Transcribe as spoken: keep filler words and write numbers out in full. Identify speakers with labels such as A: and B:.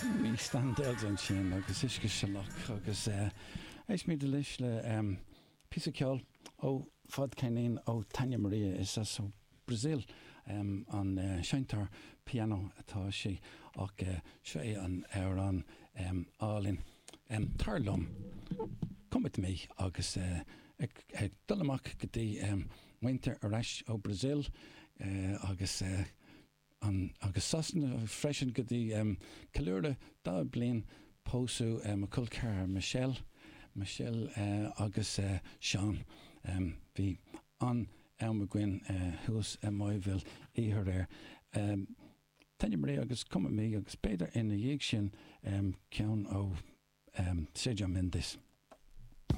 A: Bhí Standells ansin agus uisce salach agus éistfimid anois le píosa ceoil ó fadcheirnín ó Tânia Maria is as ó Brazil an seinnteoir pianó atá sí ach seo é an amhrán álainn Tar Liom Come with me agus ag dul amach go dtí muintir ar ais ó Brazil agus an agus Sasana freisin go dtí ceiliúradh daichead bliain pósadh mo chol ceathrar Michelle Michelle agus Seán bhí an-am againn thuas i Mayville oíche aréir. Tânia Maria agus Come with me agus b'fhéidir ina dhiaidh sin ceann ó Sergio Mendes.